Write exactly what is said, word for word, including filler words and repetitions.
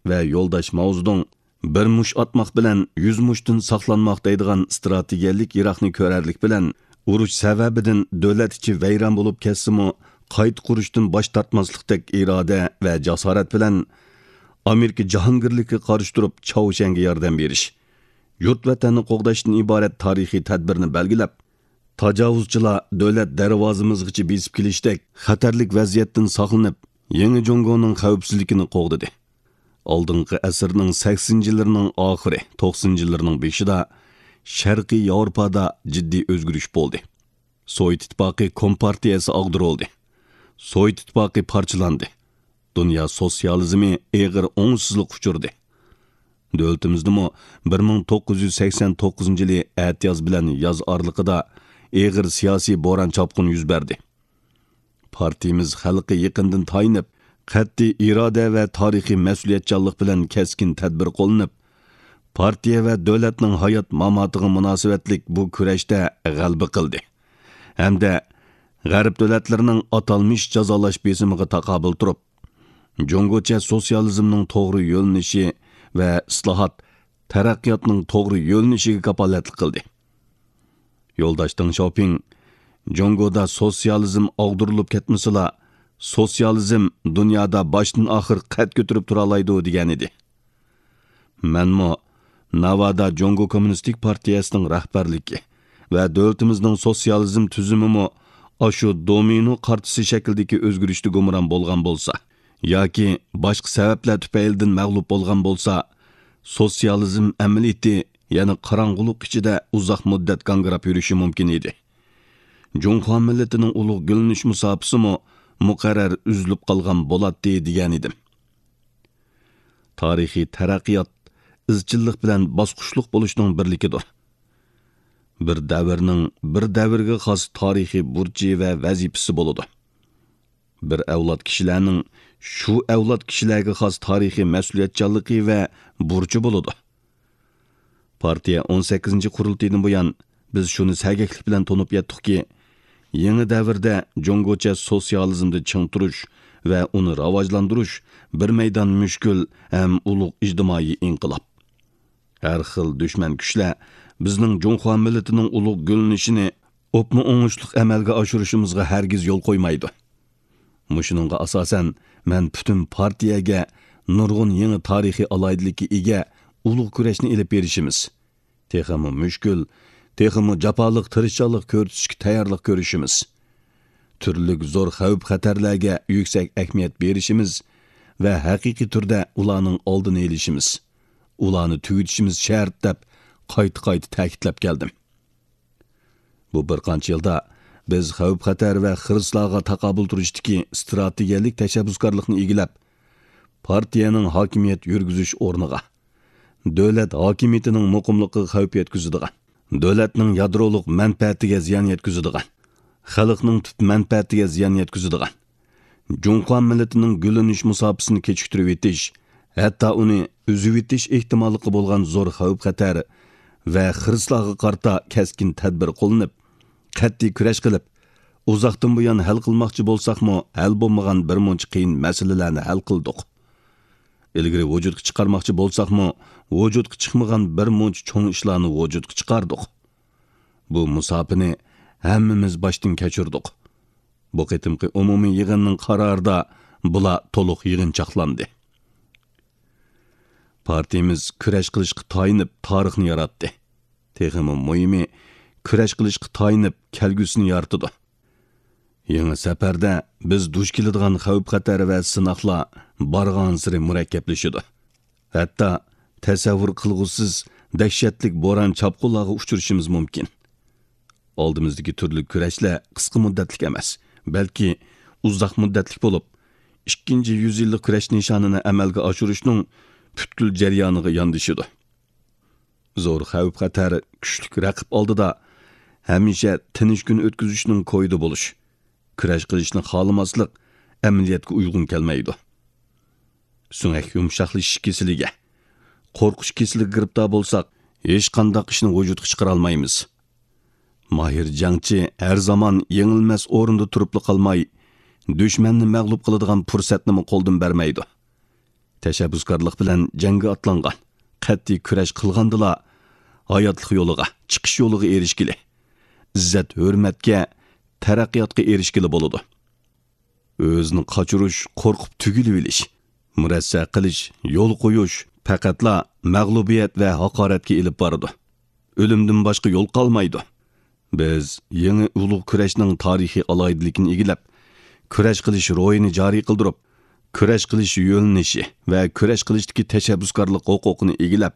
ۋە يولداش ماۋزېدۇڭ «بىر مۇش ئاتماق بىلەن يۈز مۇشتىن ساقلانماق» دەيدىغان ئىستراتېگىيەلىك يىراقنى كۆرەرلىك بىلەن، ئۇرۇش سەۋەبىدىن دۆلەت ئىچى ۋەيران بولۇپ كەتسىمۇ، قايتا قۇرۇشتىن باش تارتماسلىقتەك ئىرادە ۋە جاسارەت بىلەن ئامېرىكا جاھانگىرلىكىگە قارشى تۇرۇپ، چاۋشيەنگە ياردەم بېرىش، يۇرت ۋەتەننى قوغداشتىن ئىبارەت تارىخىي تەدبىرنى بەلگىلەپ، تاجاۋۇزچىلار دۆلەت دەرۋازىمىزغىچە بېسىپ كېلىشتەك خەتەرلىك ۋەزىيەتتىن ساقلىنىپ، يېڭى جۇڭگونىڭ خەۋپسىزلىكىنى قوغدىدى. ئالدىنقى ئەسىرنىڭ سەكسىنىنچى يىللىرىنىڭ ئاخىرى، توقسىنىنچى يىللىرىنىڭ بېشىدا شەرقىي ياۋروپادا جىددىي ئۆزگىرىش بولدى. سوۋېت ئىتتىپاقى كومپارتىيەسى ئاغدۇرۇلدى. سوۋېت ئىتتىپاقى پارچىلاندى. دۇنيا سوتسىيالىزمى ئېغىر ئوڭۇشسىزلىققا ئۇچرىدى. دۆلىتىمىزدىمۇ بىر مىڭ توققۇز يۈز سەكسەن توققۇزىنچى يىلى ئەتىياز بىلەن ياز ئارىلىقىدا ئېغىر سىياسىي بوران-چاپقۇن يۈز بەردى. پارتىيىمىز خەلققە يېقىندىن تايىنىپ، قەتئىي ئىرادە ۋە تارىخىي مەسئۇلىيەتچانلىق بىلەن كەسكىن تەدبىر قوللىنىپ، پارتىيە ۋە دۆلەتنىڭ ھايات-ماماتىغا مۇناسىۋەتلىك بۇ كۈرەشتە غەلىبە قىلدى ھەمدە غەرب دۆلەتلىرىنىڭ ئاتالمىش جازالاش بېسىمىغا تاقابىل تۇرۇپ، جۇڭگوچە سوتسىيالىزمنىڭ توغرا يۆنىلىشى ۋە ئىسلاھات، تەرەققىياتنىڭ توغرا يۆنىلىشىگە كاپالەتلىك قىلدى. يولداش دېڭ شياۋپىڭ «جۇڭگودا سوتسىيالىزم ئاغدۇرۇلۇپ كەتمىسىلا، سوتسىيالىزم دۇنيادا باشتىن-ئاخىر قەد كۆتۈرۈپ تۇرالايدۇ» دېگەنىدى. مەنمۇ ناۋادا جۇڭگو كوممۇنىستىك پارتىيەسىنىڭ رەھبەرلىكى ۋە دۆلىتىمىزنىڭ سوتسىيالىزم تۈزۈمىمۇ ئاشۇ دومىنو قارتىسى شەكلىدىكى ئۆزگىرىشتە گۇمران بولغان بولسا ياكى باشقا سەۋەبلەر تۈپەيلىدىن مەغلۇپ بولغان بولسا، سوتسىيالىزم ئەمەلىيىتى يەنە قاراڭغۇلۇق ئىچىدە ئۇزاق مۇددەت گاڭگىراپ يۈرۈشى مۇمكىن ئىدى. جۇڭخۇا مىللىتىنىڭ ئۇلۇغ گۈللىنىش مۇساپىسىمۇ مۇقەررەر ئۈزۈلۈپ قالغان بولاتتى دېگەنىدىم. تارىخىي تەرەققىيات ئىزچىللىق بىلەن باسقۇچلۇق بولۇشنىڭ بىرلىكىدۇر. بىر دەۋرنىڭ بىر دەۋرگە خاس تارىخىي بۇرچى ۋە ۋەزىپىسى بولىدۇ. بىر ئەۋلاد كىشىلەرنىڭ شۇ ئەۋلاد كىشىلەرگە خاس تارىخىي مەسئۇلىيەتچانلىقى ۋە بۇرچى بولىدۇ. پارتىيە ئون سەككىزىنچى قۇرۇلتىيىدىن بۇيان، بىز شۇنى سەگەكلىك بىلەن تونۇپ يەتتۇقكى، يېڭى دەۋردە جۇڭگوچە سوتسىيالىزمدا چىڭ تۇرۇش ۋە ئۇنى راۋاجلاندۇرۇش بىر مەيدان مۈشكۈل ھەم ئۇلۇغ ئىجتىمائىي ئىنقىلاب. ھەر خىل دۈشمەن كۈچلەر بىزنىڭ جۇڭخۇا مىللىتىنىڭ ئۇلۇغ گۈللىنىشىنى ئوپمۇ ئوڭۇشلۇق ئەمەلگە ئاشۇرۇشىمىزغا ھەرگىز يول قويمايدۇ. مۇشۇنىڭغا ئاساسەن، مەن پۈتۈن پارتىيەگە نۇرغۇن يېڭى تارىخىي ئالاھىدىلىككە ئىگە ئۇلۇغ كۈرەشنى ئېلىپ بېرىشىمىز، تېخىمۇ مۈشكۈل، تېخىمۇ جاپالىق تىرىشچانلىق كۆرسىتىشكە تەييارلىق كۆرۈشىمىز، تۈرلۈك زور خەۋپ-خەتەرلەرگە يۈكسەك ئەھمىيەت بېرىشىمىز ۋە ھەقىقىي تۈردە ئۇلارنىڭ ئالدىنى ئېلىشىمىز، ئۇلارنى تۈگىتىشىمىز شەرت، دەپ قايتا-قايتا تەكىتلەپ كەلدىم. بۇ بىر قانچە يىلدا بىز خەۋپ-خەتەر ۋە خىرىسلارغا تاقابىل تۇرۇشتىكى ئىستراتېگىيەلىك تەشەببۇسكارلىقنى ئىگىلەپ، پارتىيەنىڭ ھاكىمىيەت يۈرگۈزۈش ئورنىغا، دۆلەت ھاكىمىيىتىنىڭ مۇقىملىقىغا خەۋپ يەتكۈزىدىغان، دۆلەتنىڭ يادرولۇق مەنپەئەتىگە زىيان يەتكۈزىدىغان، خەلقنىڭ تۈپ مەنپەئەتىگە زىيان يەتكۈزىدىغان، جۇڭخۇا مىللىتىنىڭ گۈللىنىش مۇساپىسىنى كېچىكتۈرۈۋېتىش، ھەتتا ئۇنى ئۈزۈۋېتىش ئېھتىماللىقى بولغان زور خەۋپ-خەتەر ۋە خىرىسلارغا قارىتا كەسكىن تەدبىر قوللىنىپ، قەتئىي كۈرەش قىلىپ، ئۇزاقتىن بۇيان ھەل قىلماقچى بولساقمۇ، ھەل بولمىغان بىر مۇنچە قىيىن مەسىلىلەرنى ھەل قىلدۇق. ئىلگىرى ۋۇجۇدقا چىقارماقچى بولساقمۇ، ۋۇجۇدقا چىقمىغان بىر مۇنچە چوڭ ئىشلارنى ۋۇجۇدقا چىقاردۇق. بۇ مۇساپىنى ھەممىمىز باشتىن كەچۈردۇق. بۇ قېتىمقى ئومۇمىي يىغىننىڭ قارارىدا بۇلار تولۇق يىغىنچاقلاندى. پارتىيىمىز كۈرەش قىلىشقا تايىنىپ تارىخنى ياراتتى. تېخىمۇ مۇھىمى، كۈرەش قىلىشقا تايىنىپ كەلگۈسىنى يارىتىدۇ. يېڭى سەپەردە بىز دۇچ كېلىدىغان خەۋپ-خەتەر ۋە سىناقلار بارغانسېرى مۇرەككەپلىشىدۇ. ھەتتا تەسەۋۋۇر قىلغۇسىز دەھشەتلىك بوران-چاپقۇنلارغا ئۇچرىشىمىز مۇمكىن. ئالدىمىزدىكى تۈرلۈك كۈرەشلەر قىسقا مۇددەتلىك ئەمەس، بەلكى ئۇزاق مۇددەتلىك بولۇپ، ئىككىنچى يۈز يىللىق كۈرەش نىشانىنى ئەمەلگە ئاشۇرۇشنىڭ پۈتكۈل جەريانىغا ياندىشىدۇ. زور خەۋپ-خەتەر، كۈچلۈك رەقىب ئالدىدا ھەمىشە تىنچ كۈن ئۆتكۈزۈشنىڭ كويىدا بولۇش، كۈرەش قىلىشنى خالىماسلىق ئەمەلىيەتكە ئۇيغۇن كەلمەيدۇ. سۆڭەك يۇمشاقلىشىش كېسىلىگە، قورقۇش كېسىلىگە گىرىپتار بولساق، ھېچقانداق ئىشنى ۋۇجۇدقا چىقىرالمايمىز. ماھىر جەڭچى ھەر زامان يېڭىلمەس ئورنىدا تۇرۇپلا قالماي، دۈشمەننى مەغلۇپ قىلىدىغان پۇرسەتنىمۇ قولدىن بەرمەيدۇ. تەشەببۇسكارلىق بىلەن جەڭگە ئاتلانغان، قەتئىي كۈرەش قىلغاندىلا، ھاياتلىق يولىغا، چىقىش يولىغا ئېرىشكىلى، ئىززەت-ھۆرمەتكە، تەرەققىياتقا ئېرىشكىلى بولىدۇ. ئۆزىنى قاچۇرۇش، قورقۇپ تۈگۈلۈۋېلىش، مۇرەسسە قىلىش، يول قويۇش پەقەتلا مەغلۇبىيەت ۋە ھاقارەتكە ئېلىپ بارىدۇ. ئۆلۈمدىن باشقا يول قالمايدۇ. بىز يېڭى ئۇلۇغ كۈرەشنىڭ تارىخىي ئالاھىدىلىكىنى ئىگىلەپ، كۈرەش قىلىش روھىنى جارى قىلدۇرۇپ، كۈرەش قىلىش يۆنىلىشى ۋە كۈرەش قىلىشتىكى تەشەببۇسكارلىق ھوقۇقىنى ئىگىلەپ،